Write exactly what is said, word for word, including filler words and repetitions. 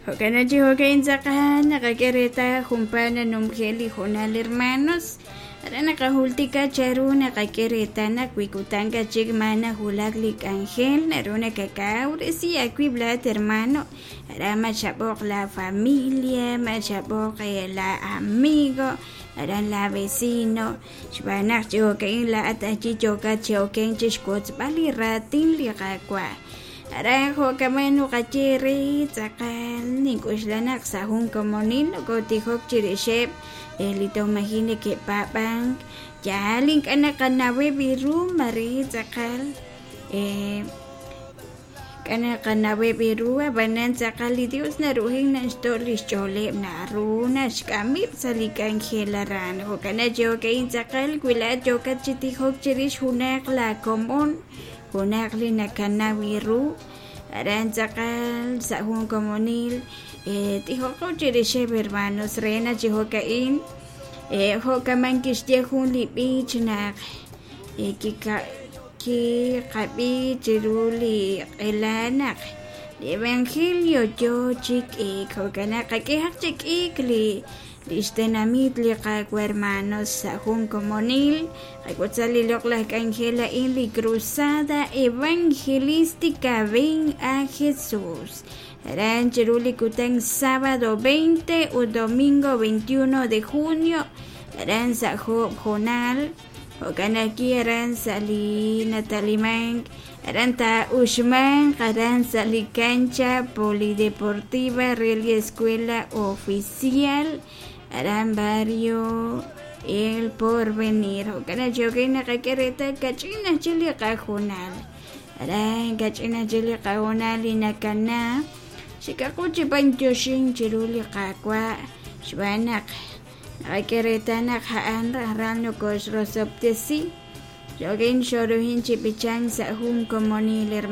Jo'kan chi jo'ka'in tz'aqal naqak'e reetal junpaat nanumje' li hoonal hermanos aran naqajultika chanru naqak'e reetal naq wi kutan chik ma nawulak li k'anjel naru nakakawresi awiib' laat hermano aran ma chab'oq la familia ma chab'oq la amigo aran la vecino xb'aan naq chi jo'ka'in laa'at achi yookat chi okenk chi xwotzb'al li raatin li Qaawa' aran jo'kaman nuqaye re tz'aqal nink'uxla naq sa' jun komonil nokotijok chirixeb' li toj maji' neke'paab'ank yaal ink'a' naqanaweb' ru mare tz'aqal ink'a' naqanaweb' ru ab'anan tz'aqal li Dios naruhin naxto' li xch'ooleb' naru naxk'amib' sa' li k'anjel aran jo'kan chi jo'ka'in tz'aqal wi laa'at yookat chi tijok chirix junaq la komon junaq li nakanaw ru aran tz'aqal sa' jun komonil tijoqo chirixeb' hermanos re naq chi jo'ka'in jo'kaman kixye jun li b'ich naq kiqab'i chiru li q'ela naq li evangelio yoo chi k'iik jo'kan naq qak'ehaq chi k'iik li lix tenamit li Qaawa' hermanos sa' jun komonil qak'utza li loq'laj k'anjel a'in li cruzada evangelística Ven a Jesús aran chiru li kutan sábado veinte ut domingo veintiuno de junio aran sa' job hoonal jo'kan ajwi' aran sa' li natalimank aran taa'uxmanq aran sa' li cancha polideportiva re li escuela oficial aran barrio El Porvenir jo'kan naq chi jo'kan naqak'e reetal kach'in ajchik li qahoonal aran kach'in ajchik li qahoonal li nakana xikaqu chi b'antioxink chiru li Qaawa' xb'aan naq naqak'e reetal naq a'an rajlal nokoxrosob'tesi jo'kin xoruhin chi b'ichank sa' jun komonil.